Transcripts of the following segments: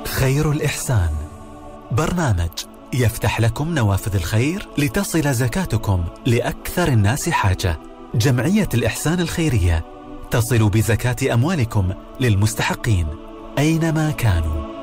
خير الإحسان برنامج يفتح لكم نوافذ الخير لتصل زكاتكم لأكثر الناس حاجة. جمعية الإحسان الخيرية تصل بزكاة أموالكم للمستحقين أينما كانوا.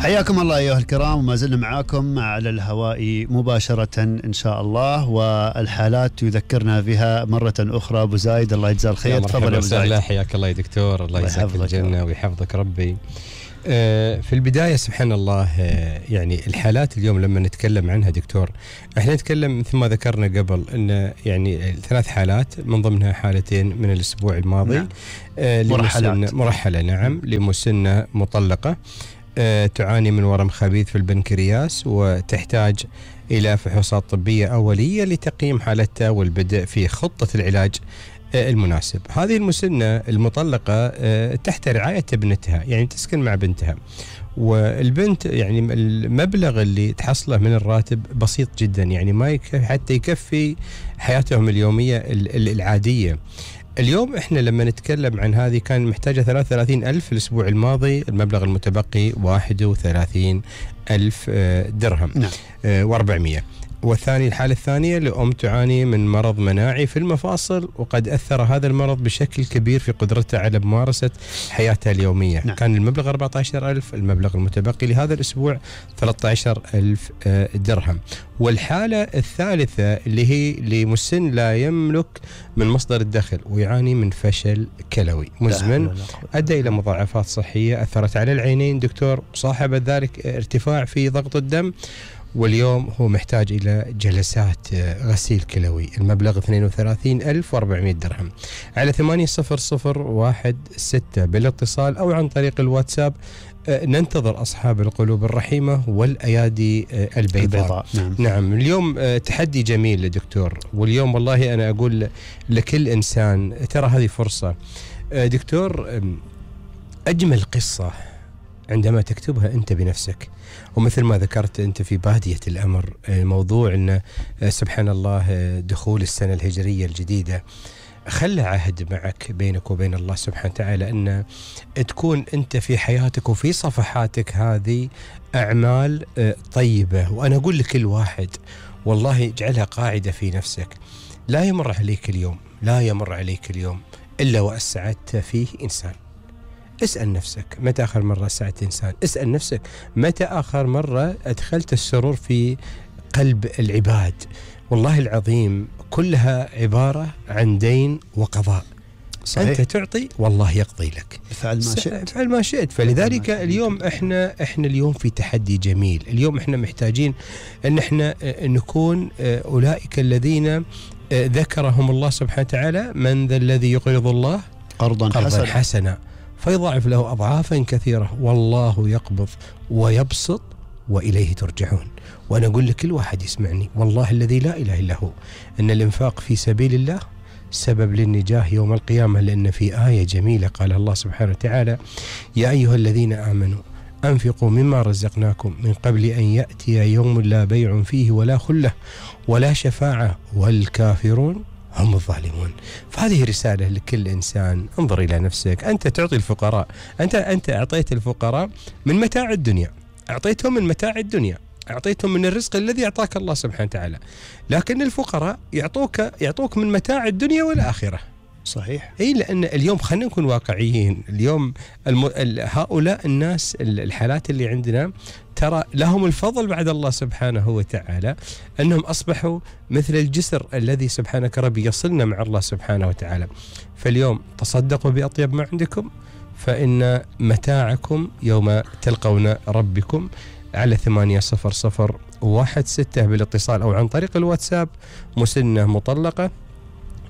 حياكم الله أيها الكرام، وما زلنا معاكم على الهواء مباشرة إن شاء الله، والحالات يذكرنا بها مرة أخرى. أبو زايد الله يجزاه الخير، تفضل يا أبو زايد. حياك الله يا دكتور، الله يجزاك الجنة ويحفظك ربي. في البداية سبحان الله، يعني الحالات اليوم لما نتكلم عنها دكتور، احنا نتكلم مثل ما ذكرنا قبل ان يعني 3 حالات من ضمنها حالتين من الأسبوع الماضي. نعم. مرحلة نعم لمسنة مطلقة تعاني من ورم خبيث في البنكرياس، وتحتاج إلى فحوصات طبية أولية لتقييم حالتها والبدء في خطة العلاج المناسب. هذه المسنة المطلقة تحت رعاية ابنتها، يعني تسكن مع بنتها، والبنت يعني المبلغ اللي تحصله من الراتب بسيط جدا، يعني ما حتى يكفي حياتهم اليومية العادية. اليوم احنا لما نتكلم عن هذه كان محتاجة 33,000 الأسبوع الماضي، المبلغ المتبقي 31,000 درهم. نعم. و400. والثاني الحالة الثانية لأم تعاني من مرض مناعي في المفاصل، وقد أثر هذا المرض بشكل كبير في قدرتها على ممارسة حياتها اليومية. نعم. كان المبلغ 14,000، المبلغ المتبقي لهذا الأسبوع 13,000 درهم. والحالة الثالثة اللي هي لمسن لا يملك من مصدر الدخل ويعاني من فشل كلوي مزمن أدى إلى مضاعفات صحية أثرت على العينين دكتور، صاحب ذلك ارتفاع في ضغط الدم، واليوم هو محتاج إلى جلسات غسيل كلوي. المبلغ 32,400 درهم. على 800116 بالاتصال أو عن طريق الواتساب. ننتظر أصحاب القلوب الرحيمة والأيادي البيضاء. نعم. اليوم تحدي جميل دكتور، واليوم والله أنا أقول لكل إنسان ترى هذه فرصة. دكتور، أجمل قصة عندما تكتبها أنت بنفسك، ومثل ما ذكرت أنت في بادية الأمر موضوع أن سبحان الله دخول السنة الهجرية الجديدة خلى عهد معك بينك وبين الله سبحانه وتعالى أن تكون أنت في حياتك وفي صفحاتك هذه أعمال طيبة. وأنا أقول لكل واحد والله اجعلها قاعدة في نفسك، لا يمر عليك اليوم إلا وأسعدت فيه إنسان. اسأل نفسك متى آخر مرة ساعدت إنسان؟ اسأل نفسك متى آخر مرة أدخلت السرور في قلب العباد؟ والله العظيم كلها عبارة عن دين وقضاء. صحيح. أنت تعطي والله يقضي لك. فعل ما شئت. فلذلك اليوم إحنا اليوم في تحدي جميل. اليوم إحنا محتاجين أن إحنا نكون أولئك الذين ذكرهم الله سبحانه وتعالى: من ذا الذي يقرض الله قرضا حسنا فيضاعف له أضعافا كثيرة والله يقبض ويبسط وإليه ترجعون. وأنا أقول لكل واحد يسمعني والله الذي لا إله إلا هو أن الإنفاق في سبيل الله سبب للنجاة يوم القيامة، لأن في آية جميلة قال الله سبحانه وتعالى: يا أيها الذين آمنوا أنفقوا مما رزقناكم من قبل أن يأتي يوم لا بيع فيه ولا خلة ولا شفاعة والكافرون هم الظالمون. فهذه رسالة لكل إنسان. انظر إلى نفسك. أنت تعطي الفقراء، أنت أعطيت الفقراء من متاع الدنيا، أعطيتهم من متاع الدنيا، أعطيتهم من الرزق الذي أعطاك الله سبحانه وتعالى، لكن الفقراء يعطوك من متاع الدنيا والآخرة. صحيح. أي لأن اليوم خلينا نكون واقعيين. اليوم هؤلاء الناس الحالات اللي عندنا ترى لهم الفضل بعد الله سبحانه وتعالى أنهم أصبحوا مثل الجسر الذي سبحانك ربي يصلنا مع الله سبحانه وتعالى. فاليوم تصدقوا بأطيب ما عندكم فإن متاعكم يوم تلقون ربكم. على 800116 بالاتصال أو عن طريق الواتساب. مسنة مطلقة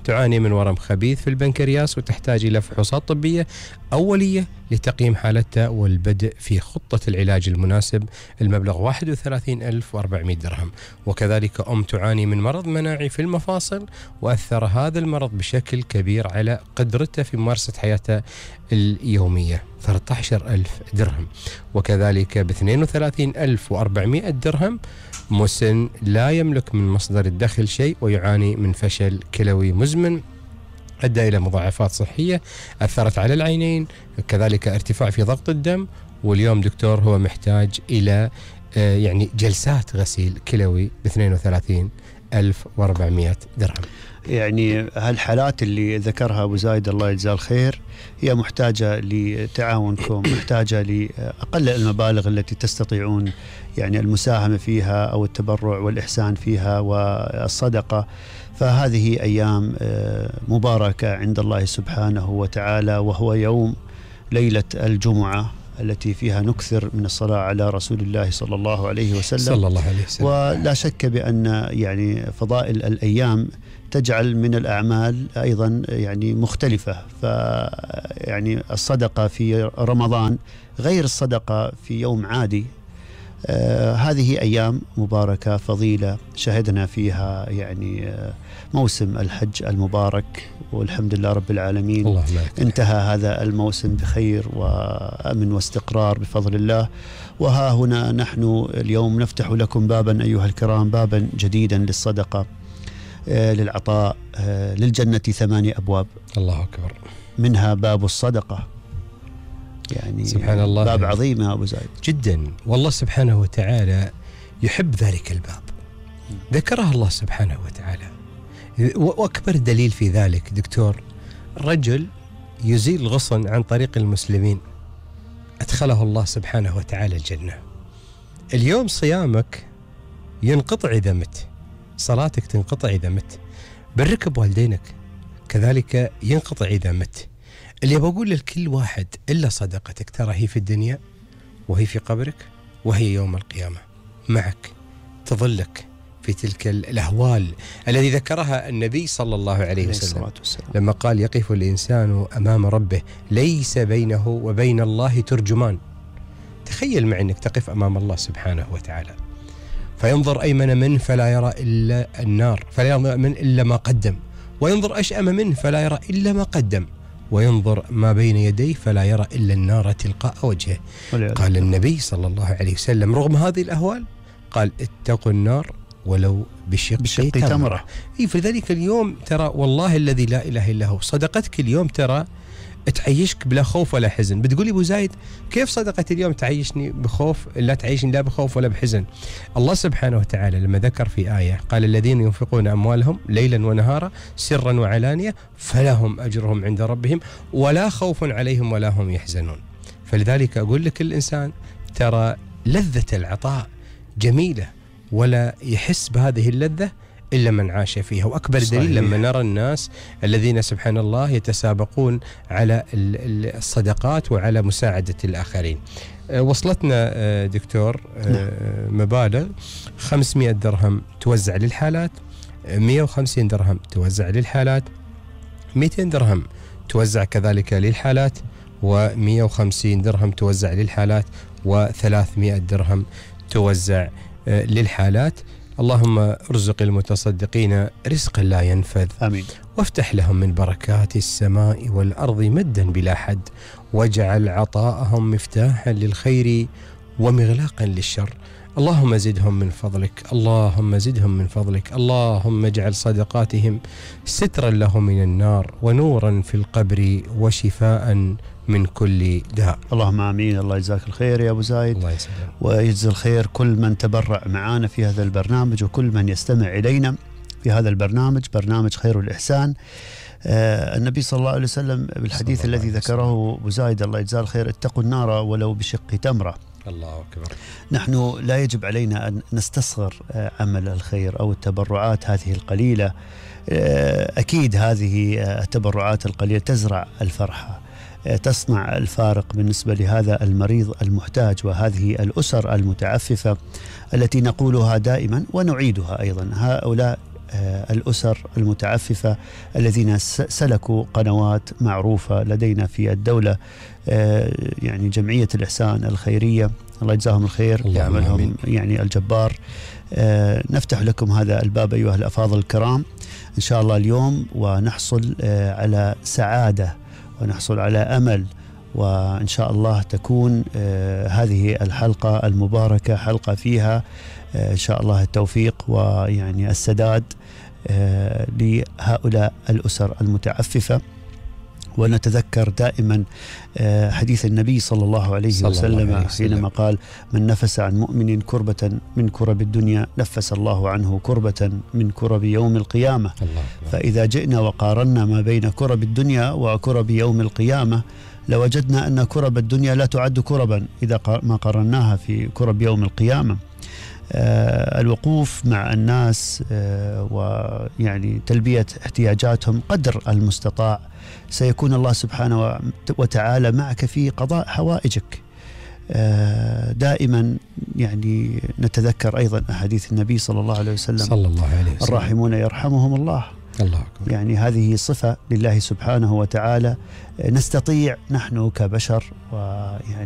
تعاني من ورم خبيث في البنكرياس وتحتاج إلى فحوصات طبية أولية لتقييم حالته والبدء في خطة العلاج المناسب. المبلغ 31,400 درهم. وكذلك أم تعاني من مرض مناعي في المفاصل، وأثر هذا المرض بشكل كبير على قدرته في ممارسة حياته اليومية، 13,000 درهم. وكذلك ب 32,400 درهم مسن لا يملك من مصدر الدخل شيء ويعاني من فشل كلوي مزمن أدى إلى مضاعفات صحية أثرت على العينين، كذلك ارتفاع في ضغط الدم. واليوم دكتور هو محتاج إلى يعني جلسات غسيل كلوي ب 32,400 درهم. يعني هالحالات اللي ذكرها أبو زايد الله يجزاه الخير هي محتاجة لتعاونكم، محتاجة لأقل المبالغ التي تستطيعون يعني المساهمة فيها أو التبرع والإحسان فيها والصدقة. فهذه أيام مباركة عند الله سبحانه وتعالى، وهو يوم ليلة الجمعة التي فيها نكثر من الصلاة على رسول الله صلى الله عليه وسلم. صلى الله عليه وسلم. ولا شك بأن يعني فضائل الأيام تجعل من الأعمال أيضا يعني مختلفة. فيعني الصدقة في رمضان غير الصدقة في يوم عادي. هذه أيام مباركة فضيلة شهدنا فيها يعني موسم الحج المبارك، والحمد لله رب العالمين انتهى هذا الموسم بخير وأمن واستقرار بفضل الله. وها هنا نحن اليوم نفتح لكم بابا أيها الكرام، بابا جديدا للصدقة، للعطاء، للجنة 8 أبواب. الله أكبر. منها باب الصدقة، يعني سبحان الله، باب عظيم يا أبو زايد جدا. والله سبحانه وتعالى يحب ذلك الباب، ذكره الله سبحانه وتعالى. وأكبر دليل في ذلك دكتور، رجل يزيل الغصن عن طريق المسلمين أدخله الله سبحانه وتعالى الجنة. اليوم صيامك ينقطع إذا مت، صلاتك تنقطع إذا مت، برك بوالدينك كذلك ينقطع إذا مت. اللي بقول لكل واحد إلا صدقتك ترى هي في الدنيا وهي في قبرك وهي يوم القيامة معك، تظلك في تلك الأهوال الذي ذكرها النبي صلى الله عليه وسلم لما قال يقف الإنسان أمام ربه ليس بينه وبين الله ترجمان. تخيل معي أنك تقف أمام الله سبحانه وتعالى فينظر أيمن منه فلا يرى إلا النار، فلا يرى من إلا ما قدم، وينظر أشأم منه فلا يرى إلا ما قدم، وينظر ما بين يديه فلا يرى إلا النار تلقاء وجهه. قال النبي صلى الله عليه وسلم رغم هذه الأهوال قال اتقوا النار ولو بشق تمرة. فلذلك اليوم ترى والله الذي لا إله إلا هو صدقتك اليوم ترى تعيشك بلا خوف ولا حزن. بتقولي أبو زايد كيف صدقة اليوم تعيشني بخوف؟ لا تعيشني لا بخوف ولا بحزن. الله سبحانه وتعالى لما ذكر في آية قال الذين ينفقون أموالهم ليلا ونهارا سرا وعلانية فلهم أجرهم عند ربهم ولا خوف عليهم ولا هم يحزنون. فلذلك أقول لك الإنسان ترى لذة العطاء جميلة ولا يحس بهذه اللذة إلا من عاش فيها. وأكبر دليل لما نرى الناس الذين سبحان الله يتسابقون على الصدقات وعلى مساعدة الآخرين. وصلتنا دكتور مبالغ 500 درهم توزع للحالات، 150 درهم توزع للحالات، 200 درهم توزع كذلك للحالات، و150 درهم توزع للحالات، و300 درهم توزع للحالات. اللهم ارزق المتصدقين رزقا لا ينفذ، آمين، وافتح لهم من بركات السماء والأرض مدا بلا حد، واجعل عطاءهم مفتاحا للخير ومغلاقا للشر. اللهم زدهم من فضلك، اللهم زدهم من فضلك، اللهم اجعل صدقاتهم سترا لهم من النار ونورا في القبر وشفاء من كل داء. اللهم آمين. الله يجزاك الخير يا أبو زايد، الله يسلم، ويجزي الخير كل من تبرع معنا في هذا البرنامج وكل من يستمع إلينا في هذا البرنامج، برنامج خير الإحسان. النبي صلى الله عليه وسلم بالحديث الذي ذكره أبو زايد الله يجزاه الخير اتقوا النار ولو بشق تمرة. الله أكبر. نحن لا يجب علينا أن نستصغر عمل الخير أو التبرعات هذه القليلة. أكيد هذه التبرعات القليلة تزرع الفرحة، تصنع الفارق بالنسبة لهذا المريض المحتاج وهذه الأسر المتعففة التي نقولها دائما ونعيدها أيضا. هؤلاء الأسر المتعففة الذين سلكوا قنوات معروفة لدينا في الدولة، يعني جمعية الإحسان الخيرية، الله يجزاهم الخير، يعملهم يعني الجبار. نفتح لكم هذا الباب أيها الأفاضل الكرام إن شاء الله اليوم، ونحصل على سعادة ونحصل على أمل، وإن شاء الله تكون هذه الحلقة المباركة حلقة فيها إن شاء الله التوفيق ويعني السداد لهؤلاء الأسر المتعففة. ونتذكر دائما حديث النبي صلى الله عليه وسلم حينما قال: من نفس عن مؤمن كربة من كرب الدنيا نفس الله عنه كربة من كرب يوم القيامة. فإذا جئنا وقارنا ما بين كرب الدنيا وكرب يوم القيامة لوجدنا أن كرب الدنيا لا تعد كربا إذا ما قارناها في كرب يوم القيامة. الوقوف مع الناس ويعني تلبية احتياجاتهم قدر المستطاع، سيكون الله سبحانه وتعالى معك في قضاء حوائجك. دائما يعني نتذكر أيضا أحاديث النبي صلى الله عليه وسلم: الراحمون يرحمهم الله. يعني هذه صفة لله سبحانه وتعالى نستطيع نحن كبشر ويعني